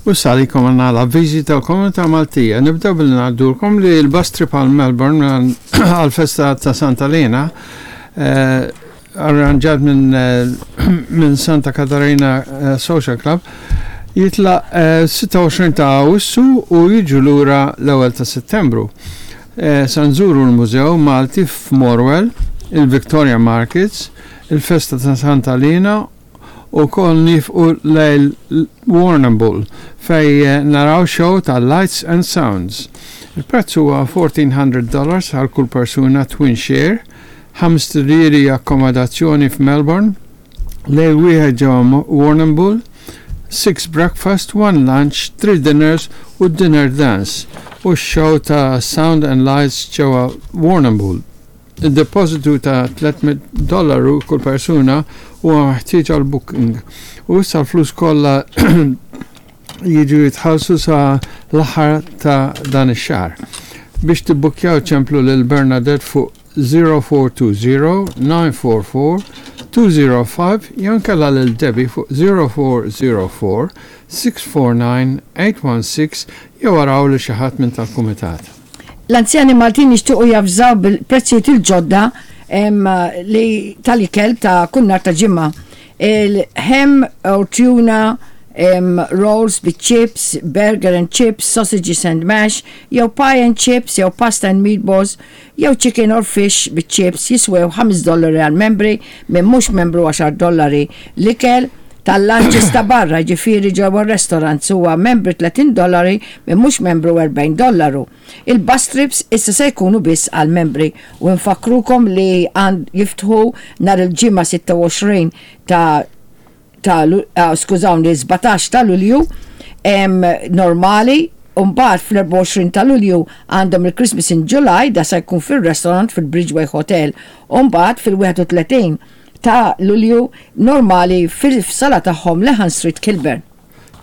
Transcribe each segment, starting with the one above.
U issa għalikom għandna l-avviżi tal-Komunità Maltija. Nibdew billi ngħaddulkom li l-bus trip għal Melbourne għal-festa ta' Santa Lena eh, arranġat minn eh, minn Santa Katarina eh, Social Club jitlaq 26 ta' Awwissu u jiġu lura l-ewwel ta' Settembru. Sa nżuru l-Mużew Malti f'Morwell, il-Victoria Markets, il-festa ta' Santa Lena Ukoll niefqu lejl Warrnambool fejn naraw show ta' Lights and Sounds. Il-prezz huwa $1,400 għal kull persuna twin share, ħamst irieri akkomodazzjoni f'Melbourne, lejl wieħed ġewwa Warrnambool, six breakfast, one lunch, three dinners u dinner dance u x-show ta' Sound and Lights ġewwa Warrnambool. Id-depożitu ta' 300 dollaru kull persuna huwa meħtieġ għall-booking u issa l-flus kollha jiġu jitħallsu sa l-aħħar ta' dan ix-xahar. Biex tibbukkjaw ċemplu lil Bernadette fuq 0420 944 205 jew inkella lil Debbie fuq 0404 649 816 jew araw lil xi ħadd minn tal-kumitat. L-anzjani Maltin jixtiequ javżaw bil-prezzijiet il-ġodda li tal-ikel ta' kull nhar ta' ġimgħa. Il-ham or tuna rolls bit chips, burger and chips, sausages and mash, jew pie and chips, jew pasta and meatballs, jew chicken or fish bit chips jiswew 5 dollari għal membri, minn mhux membru 10 dollari. L-ikel tal-lunches ta' barra, ġifieri ġewwa r-restaurants huwa membri 30 dollari, minn mhux membru 40 dollaru. Il-bus trips issa se jkunu biss għall-membri u nfakkrukom li għand jiftħu nhar il-Ġimgħa 26 ta' ta' skużawni 17 ta' Lulju normali u mbagħad fl-24 ta' Lulju għandhom il-Christmas in July da se jkun fir-restaurant fil-Bridgeway Hotel u mbagħad fil-31 ta' Lulju normali fis-sala tagħhom Lehan Street Kilburn.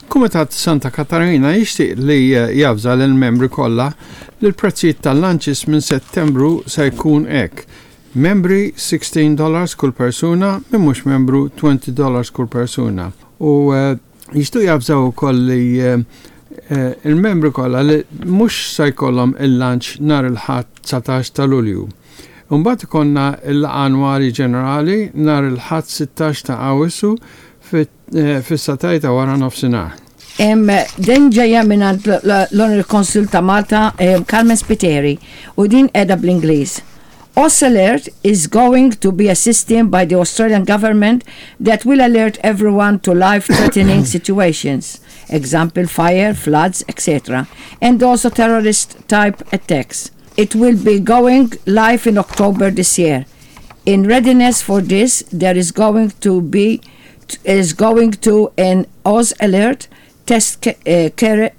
Kumitat Santa Katarina jixtieq li javża lill-membri kollha li l-prezzijiet tal-lunches minn Settembru se jkun hekk, Membri $16 kull persuna, min mhux membru $20 kull persuna. U jixtiequ javżaw ukoll li il-membri kollha li mhux se jkollhom il-lunch nhar il-Ħadd 19 ta' Lulju. Imbagħad ikollna l-laqgħa annwali ġenerali nhar il-Ħadd 16 ta' Awwissu fis-sagħtej ta' wara nofsinhar. Din ġejja mingħand l-Honorary Consul ta' Malta Carmen Spiteri u din qiegħda bl-Ingliż. Alert is going to be a system by the Australian government that will alert everyone to life-threatening situations, example fire, floods, etc., and also terrorist-type attacks. It will be going live in October this year. In readiness for this, there is going to be is going to an Oz alert test uh,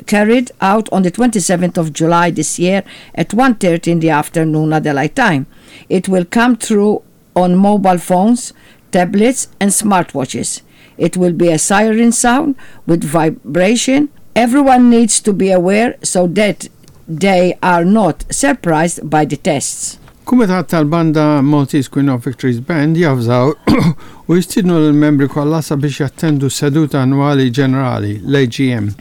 carried out on the 27th of July this year at 1.30 in the afternoon Adelaide time. It will come through on mobile phones, tablets and smartwatches. It will be a siren sound with vibration. Everyone needs to be aware so that they are not surprised by the tests. Kumitat tal-Banda Maltese Queen of Victories Band javżaw u jistiednu lill-membri kollha sabiex jattendu s-seduta annwali ġenerali, l-AGM,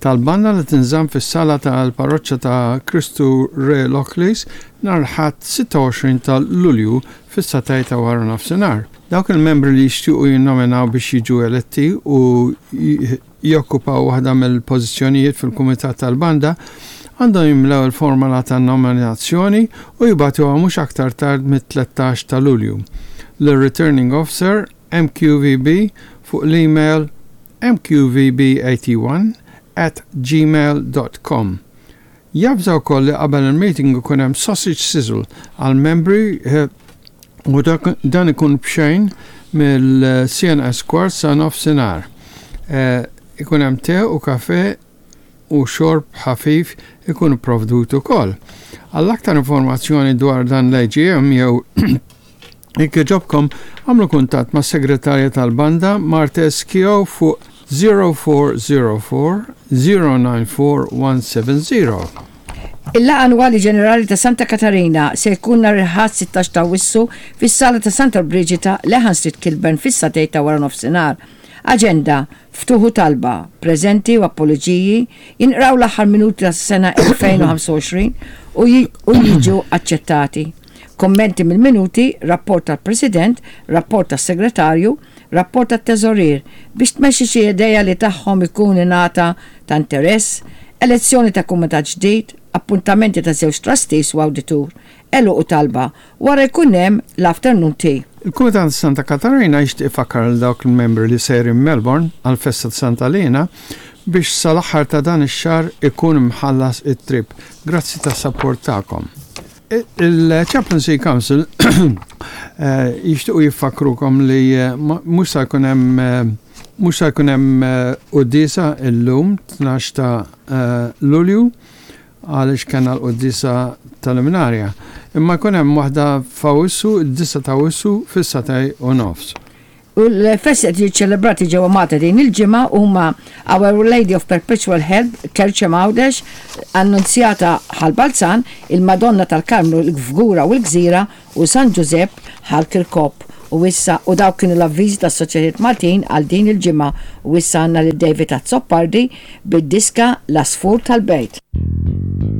tal-banda li tinżamm fis-sala tal-Parroċċa ta' Kristu Re Lockleys nhar il-Ħadd 26 ta' Lulju fis-sagħtej ta' waranofsinhar. Dawk il-membri li jixtiequ jinnominaw biex jiġu eletti u jokkupaw waħda mill-pożizzjonijiet fil-kumitat tal-banda għandhom jimlew il-formola ta' nominazzjoni u jibagħtuha mhux aktar tard mit-13 ta' Lulju lir-Returning Officer, MQVB, fuq l-email mqvb81 at gmail dot com. Javża wkoll li qabel il-meeting ikun hemm sausage sizzle għall-membri u dan ikun b'xejn mill-CNS kwart sa nofsinhar. Ikun hemm te u kafe u xorb ħafif ikun ipprovdut ukoll. Għal aktar informazzjoni dwar dan l-AGM jew Jekk jogħġobkom, agħmlu kuntatt mas-Segretarja tal-Banda, Marthe Keogh fuq 0404 094 170. Il-Laqgħa Annwali Ġenerali ta' Santa Katarina se jkun nhar il-Ħadd 16 ta' Awwissu fis-Sala ta' Santa Brigida, Lehan Street, Kilburn fis-sagħtejn ta' waranofsinhar. Aġenda, Ftuħ u talba, preżenti u apoloġiji, jinqraw l-aħħar minuti tas-sena 2025 u jiġu aċċettati. Kummenti mill-minuti, rapport tal-President, rapport tas-Segretarju, rapport tat-Teżorier, biex tmexxi xi idea li tagħhom ikun ingħata ta' interess, elezzjoni ta' kumitat ġdid, appuntamenti ta' żewġ trustees u awditur, għeluq u talba, wara jkun hemm l-afternoon tea. Il-Kumitat ta' Santa Katarina jixtieq ifakkar lil dawk il-membri li sejrin Melbourne għall-festa ta' Santa Liena biex sal-aħħar ta' dan ix-xahar ikun imħallas it-trip. Grazzi tas-sapport tagħkom. Il-Chaplaincy Council jixtiequ jiffakkrukom li mhux se jkun hemm mhux se jkun hemm quddiesa illum 12 ta' Lulju għaliex kellna l-quddiesa tal-Imnarja. Imma jkun hemm waħda f'Awwissu, id-disgħa ta' Awwissu fis-sagħtej u nofs. U l-festi qed jiġu ċċelebrati ġewwa Malta din il-ġimgħa huma Our Lady of Perpetual Help, Kerċem Għawdex, Annunzjata Ħal Balzan, il-Madonna tal-Karmnu l-Fgura u l-Gżira u San Ġużepp Ħal Kirkop. U issa u dawk kienu l-avviżi tas-Soċjetajiet Maltin għal din il-ġimgħa u issa għandna lil David Azzopardi bid-diska L-Għasfur tal-Bejt.